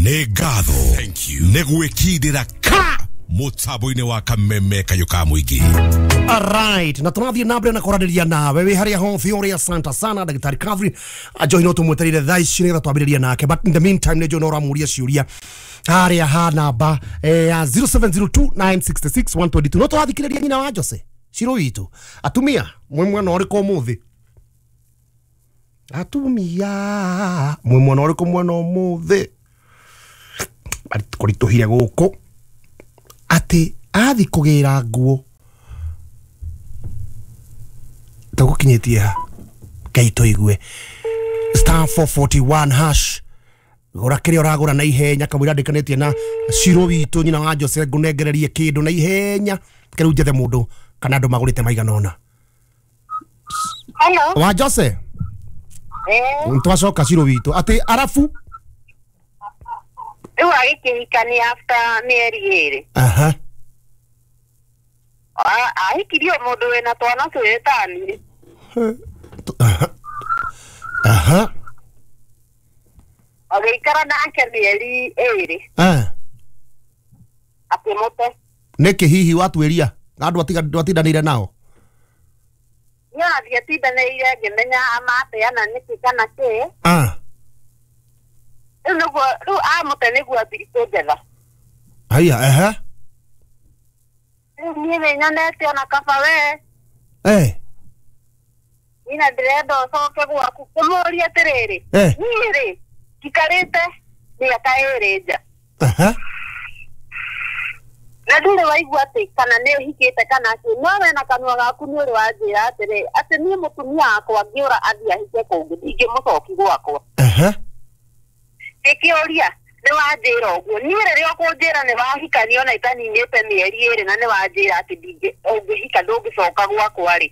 Nĩ ngatho nĩ gwĩkindĩra ka mũtambo-inĩ wa Kameme Kayũ ka Mũingĩ. Alright, na tũrathiĩ na mbere na kwaranĩria nawe wĩ harĩa hothe ũrĩa asante sana Ndagĩtarĩ Catherine Njohi no tũmwetereire thaa ici nĩgetha twambĩrĩrie nake, but in the meantime nĩ njũĩ no ũramũria ciũria harĩa ha namba ya 0702966122. No tũrathikĩrĩria nyina wa Jose Ciro witũ. Atumia mwĩ mwena ũrĩkũ ũmũthĩ? Atumia mwĩ mwena ũrĩkũ mwena ũmũthĩ? Kũritũhire gũkũ atĩ athi kũgĩra nguo tũgũkinyĩtie ha ngai tũigue star 441 hash gũra kĩrĩa ũragũra na ihenya kamũira ndĩkanĩtie na Ciro witũ nyina wa Jose ngũnengererie kĩndũ na ihenya kĩrĩu njethe mũndũ kana andũ magũrĩte maigana ũna. Hello. Wa Jose twacoka Ciro witũ atĩ arabu Rĩu agĩkĩhikania after mĩeri ĩrĩ. Aha. Ahikirio mũndũ wĩna twana twĩrĩ tani. Aha. Aha. Agĩikara nake mĩeri ĩrĩ. Akĩmũte. Nĩkĩ hihi watuĩria andũ atindanĩire nao? Niĩ ona ndiatindanĩire ngĩmenya amateana nĩkĩ kana kĩ. Rĩu nĩguo rĩu amũte nĩguo ambiri kũnjetha. Haya, ehe. Rĩu niĩ nĩnyonete ona kaba we. Nina ndĩrenda ũcoke gwaku kũmũria atĩrĩrĩ. Niĩ rĩ njikarĩte mĩaka ĩrĩ nja. Na ndũrĩ waigua atĩ kana nĩ ũhikĩte kana kĩ, no we na kanua gaku nĩ ũrĩ wanjĩra atĩrĩ atĩ niĩ mũtumia wakwa angĩũra athiĩ ahike kũngĩ ndingĩmũcoki gwakwa. Ngĩkĩũria nĩ wanjĩra ũguo niĩ rĩrĩa ũkũnjĩra nĩ wahikania ona itaninĩte mĩeri ĩrĩ na nĩ wanjĩra atĩ ũngĩhika ndũngĩcoka gwakwa rĩ,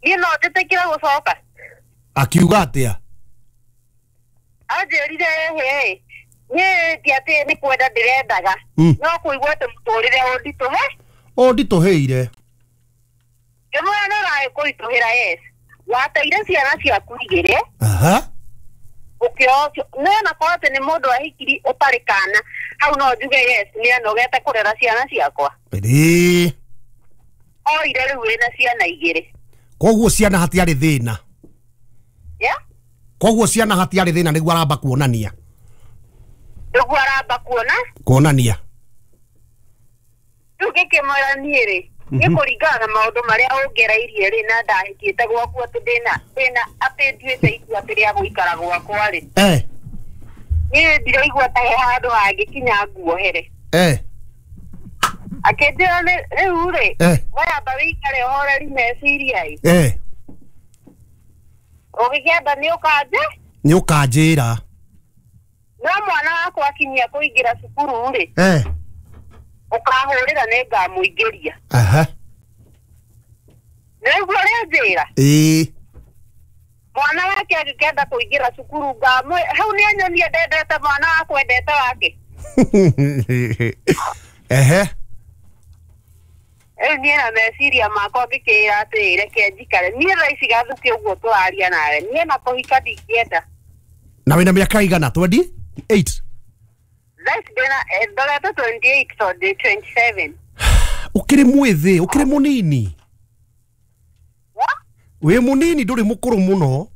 niĩ no njĩtĩkĩre gũcoka? Akiuga atĩa? Anjĩrire ĩhĩ niĩ ti atĩ nĩ kwenda ndĩrendaga no kũigua atĩ mũtũrĩre ũnditũhe ũnditũhĩire. Ngĩmwĩra nĩ ũragĩkũritũhĩra, yes, wateire ciana ciaku igĩrĩ. Ũkĩocio nĩ korwo atĩ nĩ mũndũ ahikiri ũtarĩ kana hau no njuge yes nĩ anogete kũrera ciana ciakwa. Oire rĩu wĩna ciana igĩrĩ. Koguo ciana hatiarĩ thĩna. Koguo ciana hatiarĩ thĩna nĩguo aramba kuonania. Nĩguo aramba kuonania. Rĩu ngĩkĩmwĩra niĩ rĩ nĩ kũringana na maũndũ marĩa ũngereirie rĩ na ndahikĩte gwaku atĩ ndĩna atĩ nduĩte itua atĩ rĩa gũikara gwakwa rĩ, niĩ ndiraigua ta he handũ hangĩkinya nguohere. Akĩnjĩra rĩu rĩ wamba wĩikare ũhoreri meciria ĩ, ũgĩkĩenda nĩ ũkanje nĩ ũkanjĩra no mwana wakwa akinyia kũingĩra cukuru rĩ ũkahũrĩra nĩ ngamũingĩria. Nĩguo ũrĩa njĩra? Mwana wake agĩkĩenda kũingĩra cukuru ngamwĩ hau nĩ anyonie ndendete mwana wakwa endete wake. Rĩu niĩ na meciria makwa ngĩkĩra atĩ reke njikare niĩ thaa ici Gathũkĩ ũguo tũraria nawe niĩ na kũhika ndingĩenda. Na wĩna mĩaka igana? 28? Ndorete 28 tondũ 27. Ũkĩrĩ mwĩthĩ, ũkĩrĩ mũnini. Wĩ mũnini ndũrĩ mũkũrũ mũno.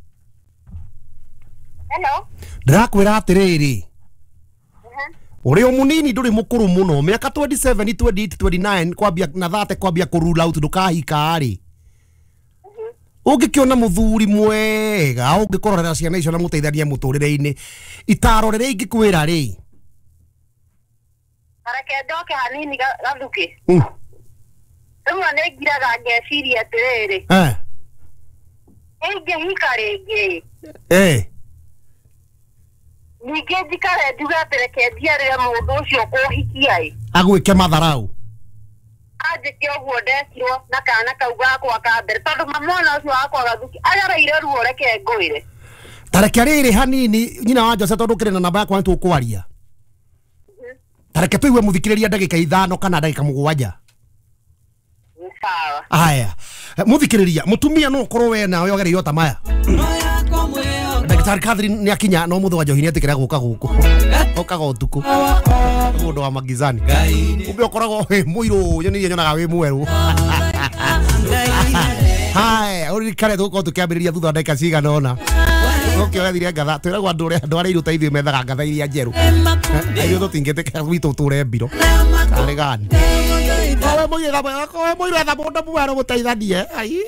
Hello. Ndĩrakwĩra atĩrĩrĩ, ũrĩ o mũnini ndũrĩ mũkũrũ mũno, mĩaka 27 28 29 kwambia na 30 kwambia kũrule out ndũkahika rĩ, ũngĩkĩona mũthuri mwega ũngĩkũrorera ciana icio na mũteithanie mũtũrĩre-inĩ, itaro rĩrĩa ingĩkwĩra rĩ, Reke njoke hanini Gathũkĩ. Rĩmwe nĩ ngiraga ngeciria atĩrĩrĩ, ingĩhika rĩngĩ ningĩ njikare njuge atĩ reke njiarĩre mũndũ ũcio kũhikia ĩ agwĩke matharau anjĩke ũguo ndekirwo na kana kau gakwa ka mbere tondũ mwana ũcio wakwa Gathũkĩ agereire ruo reke ngwĩre. Ta reke rĩrĩ hanini nyina wa Jose tondũ ũkĩrĩ na namba yakwa nĩ tũkwaria. Ta reke tũigue mũthikĩrĩria ndagĩka 5 kana ndagĩka 7. Sawa. Haya, mũthikĩrĩria mũtumia no ũkorwo we nawe ũgereire ta maya. Ndagĩtarĩ Catherine nĩ akinya no mũthĩ wa Njohi nĩ etĩkĩra gũka gũkũ. Okaga ũtukũ. Mũndũ wa magizani. Kumbe ũkoragwo wĩ mũirũ, nyoni nyonaga wĩ mwerũ. Hai, ũririkane tũgũkorwo tũkĩambĩrĩria thutha wa ndagĩka cigana ũna. Ũkĩoya ngatha, twĩragwo andũ ũrĩa andũ arĩa irũ ta ithuĩ methaga ngatha iria njerũ. Ithuĩ tũtingĩtĩkĩra gwitũ tũre mbiro. Karĩ gani? Kowe mũirũ etha mũndũ mwerũ mũteithanie. Ai.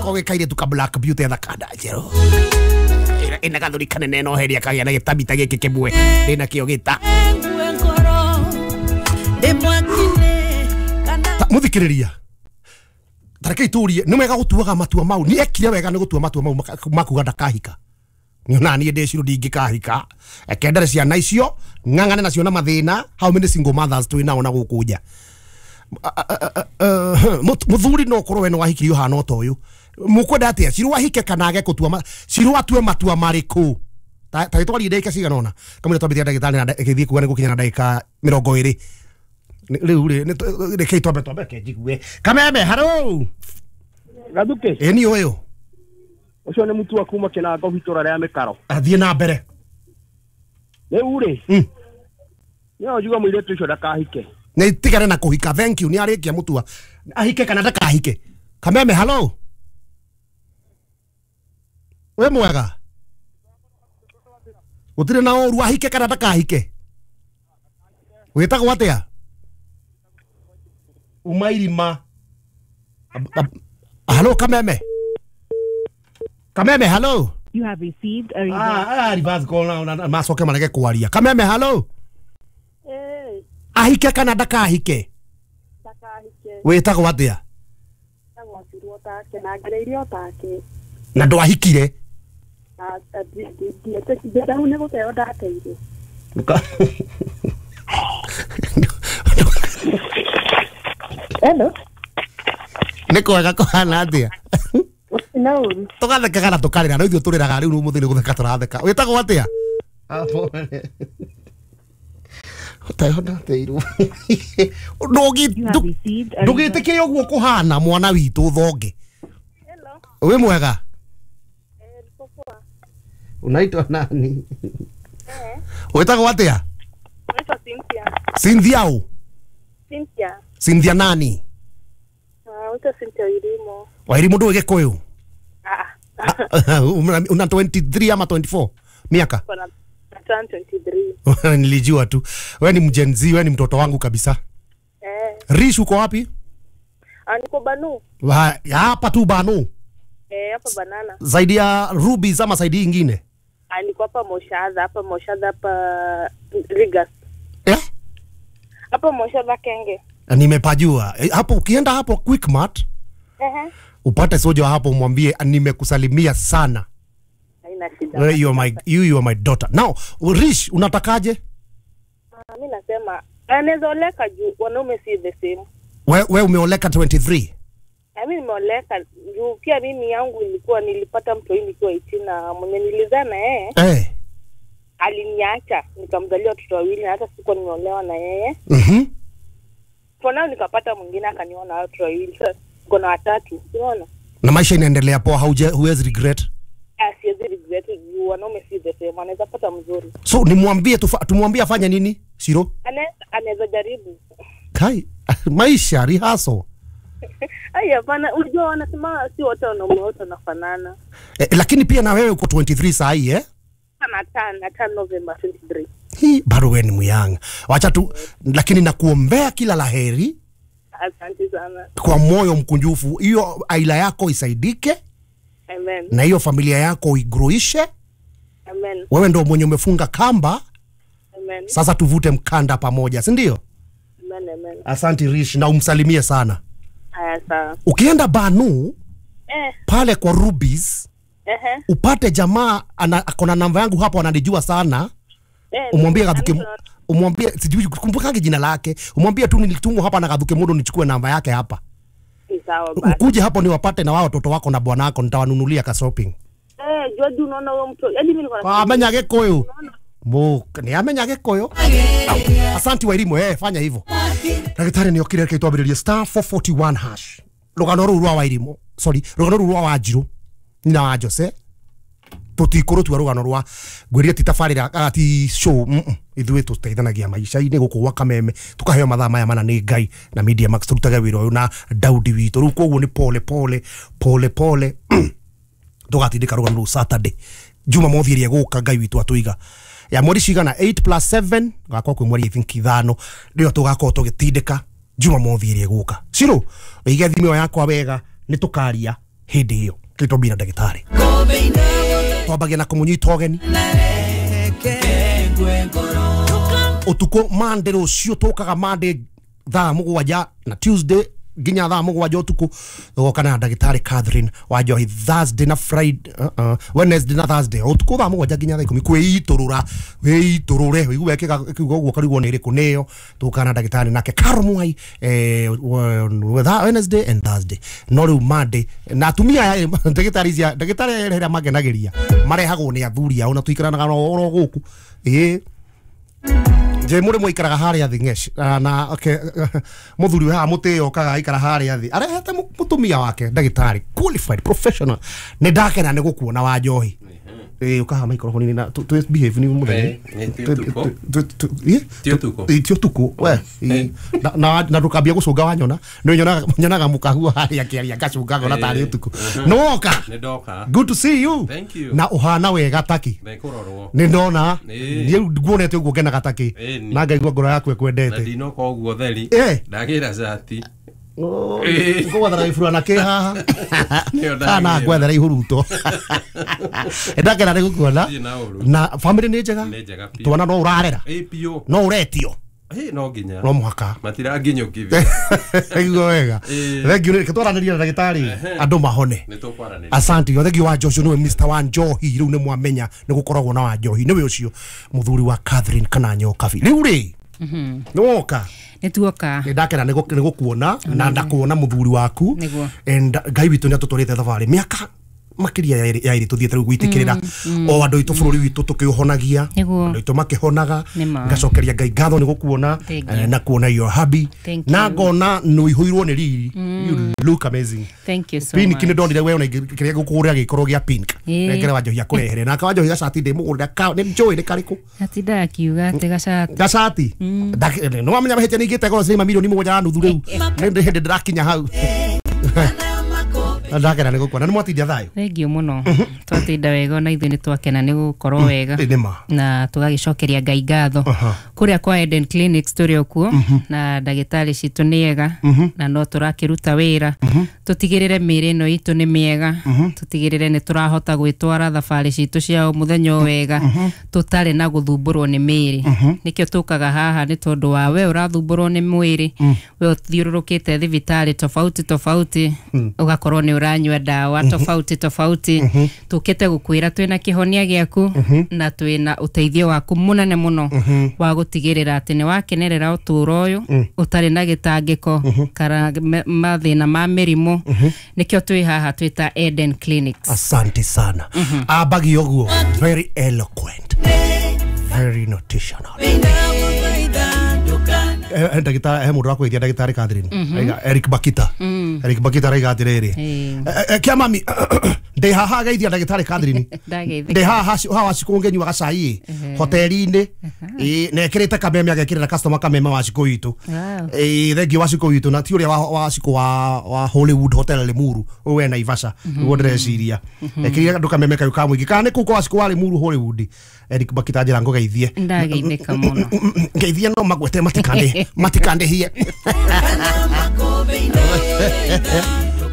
Kowe kairĩtu ka Black Beauty etha kanda njerũ. Ina gathuri kanene no heria kagĩa na gĩtambi ta gĩkĩ kĩmwe. Ndĩna kĩo gĩta. Mũthikĩrĩria. Tareke itũrie nĩ wega gũtuaga matua mau. Nĩ ekire wega nĩ gũtua matua mau makuga ndakahika. Nĩ niĩ ndĩcirũ ndingĩkahika. Ekendere ciana icio ng'ang'ane nacio na mathĩna. How many single mothers twĩ nao na gũkũ nja. Mũthuri no ũkorwo we nĩ wahikirio hana ota ũyũ. Mũkwenda atĩa? Ciru ahike kana age gũtua Ciru atue matua marĩkũ? Ta gĩtwarie ndagĩka cigana ũna. Kamũira twambĩtie ndagĩtarĩ na ĩgĩthiĩ kuga nĩ gũkinya na ndagĩka 20. Rĩu rĩ rekei twambe ke njigue. Kameme haro. Gathuke. Ĩ ni ũyũ. Ũcio nĩ mutua kuma Kĩnango itũra rĩa Mĩkaro. Athiĩ na mbere. Rĩu rĩ. Nĩ njuga mũirĩtu ũcio ndakahike. Nĩ tigane na kũhika. Thank you. Nĩ arĩkia mutua. Ahike kana ndakahike. Kameme halo. We mwega. Gũtirĩ na ũru ahike kana ndakahike. Wĩtagwo atĩa? Umairima. Hello Kameme. Kameme hello. You have received a reverse. Reverse call na macoke marege kwaria. Kameme hello. Eh. Ahike kana ndakahike? Ndakahike. Wĩtagwo atĩa? Wĩtagwo Cirwo take na ngereirio take. Na ndwahikire? Nĩ gũteo ndateire. Hello. Nĩ kwega kũhana atĩa? Na ũru. Tũgathekaga na tũkarĩra, no ithuĩ tũrĩraga rĩu ũmũthĩ nĩ gũtheka tũratheka. Wĩtagwo atĩa? Ũteo ndateirwo. Ndũgĩtĩkĩre ũguo kũhana mwana witũ thonge. Hello. Wĩ mwega? Unaitwa nani? Wĩtagwo atĩa? Naitwa Cynthia. Cynthia ũ? Cynthia. Cynthia nani? Naitwa Cynthia Wairimu. Wairimu ndũĩ Gĩkũyũ? Una 23 ama 24? Miaka? Kuna 23. Nilijua tu. Wewe ni Gen Z, wewe ni mtoto wangu kabisa. Rish uko wapi? Niko Banu. Hapa tu Banu. Hapa Banana. Zaidi ya Ruby ama zaidi nyingine? Niko hapa Moshadha, hapa Rigas. Hapa Moshadha Kenge. Nimepajua. Hapo ukienda hapo Quickmart. Upate soja hapo umwambie nimekusalimia sana. Haina shida. You are my daughter. Now, Rish unatakaje? Mimi nasema anaweza oleka juu wanaume si the same. Wewe umeoleka 23? Mimi nimeoleka juu pia mimi yangu ilikuwa nilipata mtu nikiwa 18 na mwenye nilizaa na yeye. Aliniacha nikamzalia watoto wawili na hata sikuwa nimeolewa na yeye. For now nikapata mwingine akaniona watoto wawili. Sasa niko na watatu, unaona? Na maisha inaendelea poa, huwezi regret? Siwezi regret juu wanaume si the same, anaweza pata mzuri. So nimwambie tumwambie afanye nini? Shiro? Anaweza jaribu. Kai, maisha rehearsal. Ai hapana, unajua wanasema si wote wanaume wote wanafanana. Lakini pia na wewe uko 23 saa hii eh? Na 10 November 23. Hii bado wewe ni muyanga. Wacha tu, lakini nakuombea kila laheri. Asante sana. Kwa moyo mkunjufu, hiyo aila yako isaidike. Amen. Na hiyo familia yako igroishe. Amen. Wewe ndio mwenye umefunga kamba. Amen. Sasa tuvute mkanda pamoja, si ndio? Amen, amen. Asante Rish, na umsalimie sana. Haya sawa. Ukienda Banu pale kwa Rubies, upate jamaa akona namba yangu hapo, ananijua sana. Umwambie Gathuke, umwambie sijui kumbukage jina lake. Umwambie tu nilitumwa hapa na Gathuke Mundu nichukue namba yake hapa. Sawa basi. Ukuje hapo niwapate na wao watoto wako na bwana wako, nitawanunulia ka shopping. Jua unaona huyo mtu. Yaani mimi niko na amenya Gikuyu. Ni amenya Gikuyu. Asante Wairimu, fanya hivyo. Daktari ni okire reke twambiririe star 441 hash. Rugano ruru rwa Wairimu. Sorry, rugano ruru rwa Wanjiru. Nyina wa Jose. Tũtikũrũtua rũgano rwa ngwĩrire ti tabarĩra ti show ithuĩ tũteithanagia maica-inĩ gũkũ gwa Kameme tũkaheo mathaa maya mana nĩ Ngai na Media Max tũrutage wĩra ũyũ na Daudi witũ. Rĩu koguo nĩ pole pole pole pole tũgatindĩka rũgano rũu Saturday Jumamothi ĩrĩa ĩgũka Ngai witũ atũiga ya mweri cigana 8 plus 7 gakorwo kwĩ mweri I think 5 nĩyo tũgakorwo tũgĩtindĩka Jumamothi ĩrĩa ĩgũka. Ciro ũige thimũ yakwa wega nĩ tũkaria hĩndĩ ĩyo kĩtũmbira ndagĩtarĩ twambagia na kũmũnyita ũgeni ũtukũ Monday rũciũ tũkaga Monday thaa 7 na Tuesday nginya thaa 7 ũtukũ tũgoka na ndagĩtarĩ Catherine wa Njohi Thursday na Friday Wednesday na Thursday ũtukũ thaa 7 nginya thaa 10 kwĩitũrũra wĩitũrũre ũigue kiugo ũguo karigwo nĩ ĩrĩkũ nĩyo tũgoka na ndagĩtarĩ nake Carol Mwai Wednesday and Thursday no rĩu Monday na atumia aya ndagĩtarĩ cia ndagĩtarĩ ĩrĩa makenagĩria marehagwo nĩ athuri ao na tũikaranaga oro gũkũ ĩĩ nje muri muikaraga haria thi ngesh na okay muthuri we haha mutio okaga aikara haria thi arehete mutumia wake ndagitari qualified professional ni ndakena ni gukuona wa Njohi ukaha microphone na tu behave ni muthenya ti utuku we na ndukambia gucunga wanyona ni nyonaga mukaguo haria kiaria ngacunga ngona tari utuku no woka ni ndoka. Good to see you. Thank you. Na uhana wega taki ndikurorwo ni ndona ni nguonete uguo ngenaga taki na ngaigua ngoro yaku ekwendete na ndinoka uguo theri ndagira cati ngwethera gĩburana kĩ haha kana ngwethera ihuruto ndakena nĩ gũkuona na family nĩ njega twana no ũrarera no ũretio no nginya no mũhaka matiranginyũkithia iguo wega thank you reke twaranĩrie na ndagĩtarĩ andũ mahone asante thank you wa Joshua nĩwe Mr. wa Njohi rĩu nĩ mwamenya nĩ gũkoragwo na wa Njohi nĩwe ũcio mũthuri wa Catherine kana Nyokabi rĩu rĩ nĩ woka nĩ tuoka nĩ ndakena nĩ gũkuona na ndakuona mũthuri waku and Ngai witũ nĩ atũtwarĩte thabarĩ mĩaka makiria ya iri tuthiete riu gwitikirira o andu itu bururi witu tukiuhonagia andu itu makihonaga ngacokeria Ngai ngatho ni gukuona na kuona your hubby na ngona nuihuirwo ni riri. You look amazing. Thank you so much. Pink ni ndonire we ona kiria gukuria gikorwo gia pink ngere wa Njohi akurehere na ka wa Njohi gacati ndi mugurira ka ni njui ni kariku atinda akiuga ati gacati gacati no wamenya mahĩtia nĩingĩte goro ciringi milioni 7.5 rĩu nĩ hĩndĩ ndĩrakinya hau ndakena nĩ gũkuona nĩ mwatinda thayũ. Thank you mũno twatinda wega na ithuĩ nĩ twakena nĩ gũkorwo wega na tũgagĩcokeria Ngai ngatho kũrĩa kwa Eden Clinics tũrĩ o kuo na ndagĩtarĩ citũ nĩ ega na no tũrakĩruta wĩra tũtigĩrĩre mĩĩrĩ ĩno itũ nĩ mĩega tũtigĩrĩre nĩ tũrahota gwĩtwara thabarĩ citũ cia o mũthenya o wega tũtarĩ na gũthumbũrwo nĩ mĩĩrĩ nĩkĩo tũkaga haha nĩ tondũ wa we ũrathumbũrwo nĩ mwĩrĩ we ũthiũrũrũkĩte thibitarĩ tofauti tofauti ũgakorwo nĩ ũranyua ndawa tofauti tofauti tukite gukwira twina kĩhonia gĩaku na twina ũteithio waku mũnene mũno wa gũtigĩrĩra atĩ nĩ wakenerera ũtũũro ũyũ ũtarĩ na gĩtangĩko kana mathĩna ma mĩrimũ nĩkĩo twĩ haha twĩta Eden Clinics. Asante sana. Abagi ũguo very eloquent, very notitional. Ndagĩtarĩ he mũndũ wakwĩtia ndagĩtarĩ Catherine Eric Bakita Eric Bakita araiga atĩrĩrĩ kĩa mami ndĩ haha geithia ndagĩtarĩ Catherine ndĩ haha hawa Wacikũ ngĩnyua gacai hoteli-inĩ na ekĩrĩte kameme agekĩrĩra customer kameme Wacikũ witũ thengiũ Wacikũ witũ na ti ũrĩa Wacikũ wa Hollywood Hotel Limuru ũyũ we Naivasha nĩguo ndĩreciria ekĩrire andũ kameme kayũ ka mũingĩ kana nĩ kũu kwa Wacikũ wa Limuru Hollywood Eric Bakita njĩra ngũgeithie ndageithĩka mũno ngeithie no magwete matikandĩhie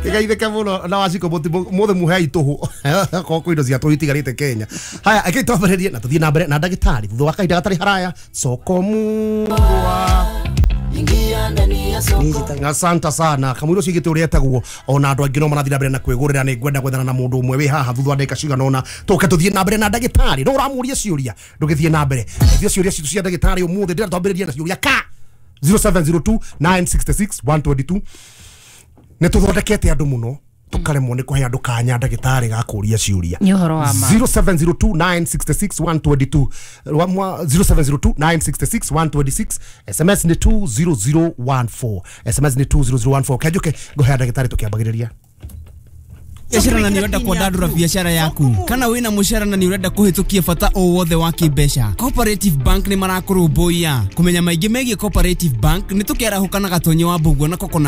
Geithĩke mũno na Wacikũ mũthĩ muhe itũhũ korwo kwĩ indo cia tũhũ itigarĩte Kenya. Haya eke twambĩrĩrie na tũthiĩ na mbere na ndagĩtarĩ thutha wa kahinda gatarĩ haraya soko murwa. Asante sana kamwiro cigite uria etagwo ona andu angi no marathi na mbere na kwigurira ni ngwenda gwethana na mundu umwe wi haha thutha wa ndagika cigana ona tuke tuthie na mbere na ndagitari no uramuria ciuria ndugithie na mbere thie ciuria citu cia ndagitari umuthi ndira twambiririe na ciuria ka 0702 966 122 ni tuthondekete andu muno tukaremwo ni kuhe andu kanya ndagitari ga kuria ciuria ni uhoro wa ma 0702 966 122 0702 966 126 SMS ni 20014 SMS ni 20014 kenjuke nguhe ndagitari tukiambagiriria Biacara na nĩ ũrenda kwandandũra biacara yaku kana wĩna mũcara na nĩ ũrenda kũhĩtũkia bata o wothe wa kĩmbeca, Cooperative Bank nĩ marakũrũmbũiya. Kũmenya maingĩ megiĩ Cooperative Bank nĩ tũkĩarahũka na Gatonyi wa Mbũguo na Kokona.